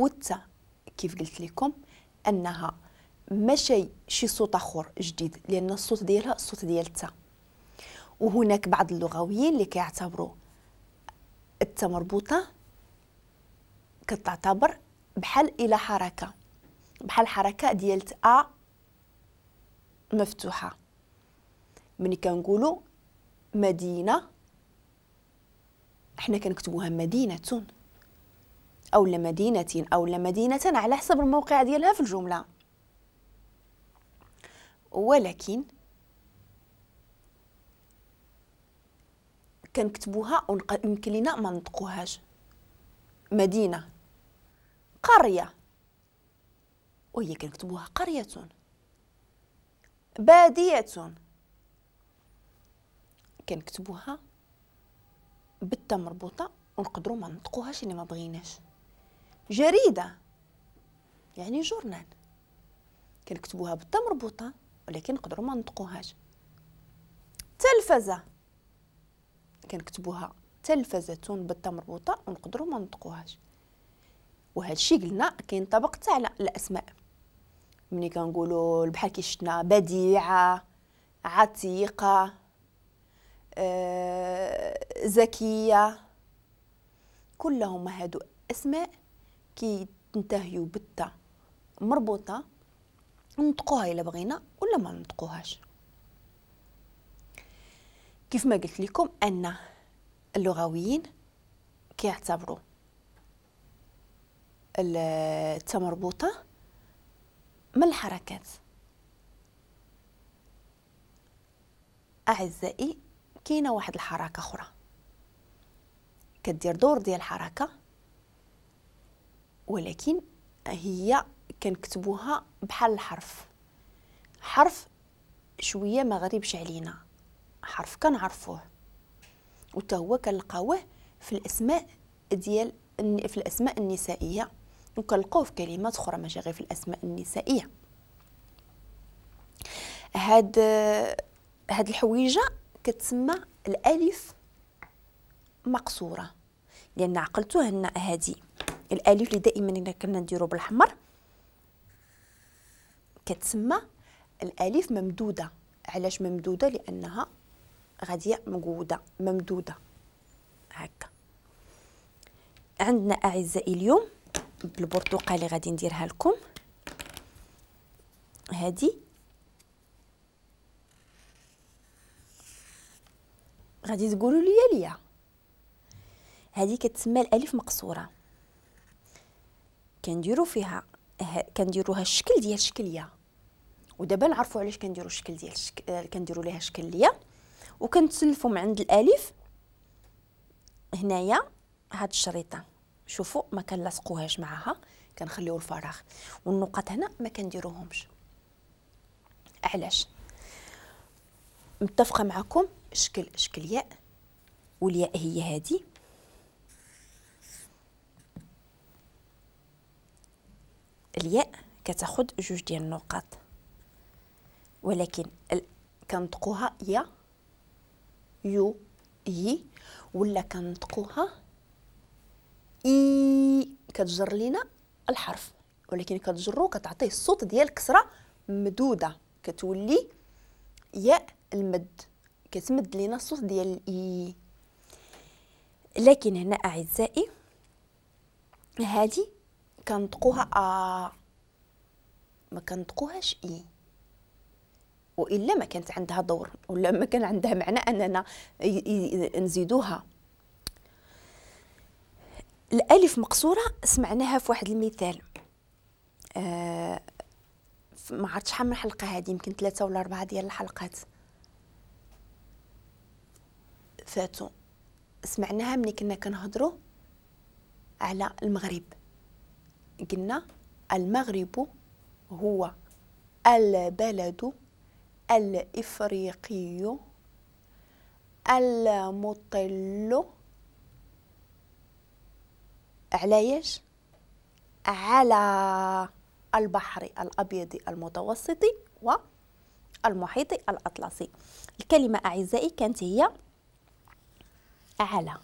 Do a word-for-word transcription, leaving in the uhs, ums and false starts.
والتاء كيف قلت لكم انها ماشي شي صوت اخر جديد، لان الصوت ديالها الصوت ديال التاء. وهناك بعض اللغويين اللي كيعتبروا التاء مربوطة كتعتبر بحال الى حركة، بحال حركة ديال ا مفتوحة. ملي كنقولوا مدينة احنا كنكتبوها مدينة او لا مدينة او لا مدينة على حسب الموقع ديالها في الجملة، ولكن كنكتبوها ويمكن لينا ما نطقوهاش. مدينة، قرية، وهي كنكتبوها قرية، باديه كنكتبوها بالتا مربوطة ونقدروا ما نطقوهاش الا ما بغيناش. جريدة يعني جورنال كنكتبوها بالتا مربوطة ولكن نقدروا ما نطقوهاش. تلفزه كنكتبوها تلفزه بالتا مربوطة ونقدروا ما نطقوهاش. وهذا الشيء قلنا كينطبق حتى على الاسماء، ملي كنقولوا بحال كي شفنا بديعه، عتيقه، آه، زكية، كلهم هادو اسماء كينتهيو بالتا مربوطة، نطقوها الا بغينا ولا ما نطقوهاش. كيف ما قلت لكم ان اللغويين كيعتبروا التا مربوطة من الحركات. اعزائي كاينه واحد الحركة اخرى كدير دور ديال الحركة، ولكن هي كنكتبوها بحال الحرف، حرف شوية ما غريبش علينا، حرف كنعرفوه وتا هو كنلقاوه في الاسماء ديال في الاسماء النسائية، وكنلقاوه في كلمات اخرى ماشي غير في الاسماء النسائية. هاد هاد الحويجه كتسمى الالف مقصورة، لان عقلتوه ان هادي الالف اللي دائما الا كنا نديرو بالاحمر كتسمى الالف ممدوده. علاش ممدوده؟ لانها غادية مقوده ممدوده هكا. عندنا اعزائي اليوم بالبرتقالي غادي نديرها لكم. هادي غادي تقولوا لي ليا هذه كتسمى الالف مقصورة، كنديروا فيها كنديروها الشكل ديال شكلية، ودابا نعرفوا علاش كنديروا الشكل ديال الشك... كنديروا ليها شكلية. وكنتسلفوا من عند الالف هنايا هاد الشريطه، شوفوا ما كنلاصقوهاش معاها، كنخليو الفراغ، والنقط هنا ما كنديروهمش. علاش؟ متفقه معكم شكل شكل ياء، والياء هي هذه، الياء كتاخذ جوج ديال النقاط، ولكن ال... كنطقوها يا يو يي، ولا كنطقوها اي، كتجر لينا الحرف، ولكن كتجرو كتعطيه الصوت ديال كسره مدوده، كتولي ياء المد، كتمد لينا الصوت ديال الاي. لكن هنا اعزائي هذه كنطقوها ا، ما كنطقوهاش اي، والا ما كانت عندها دور ولا ما كان عندها معنى اننا نزيدوها. الالف مقصورة سمعناها في واحد المثال، آه ما عرفت شحال من حلقة هذه، يمكن ثلاثة ولا اربعة ديال الحلقات فاتوا، سمعناها ملي كنا كنهضروا على المغرب. قلنا المغرب هو البلد الإفريقي المطل علاش؟ على البحر الأبيض المتوسط والمحيط الأطلسي. الكلمة أعزائي كانت هي على.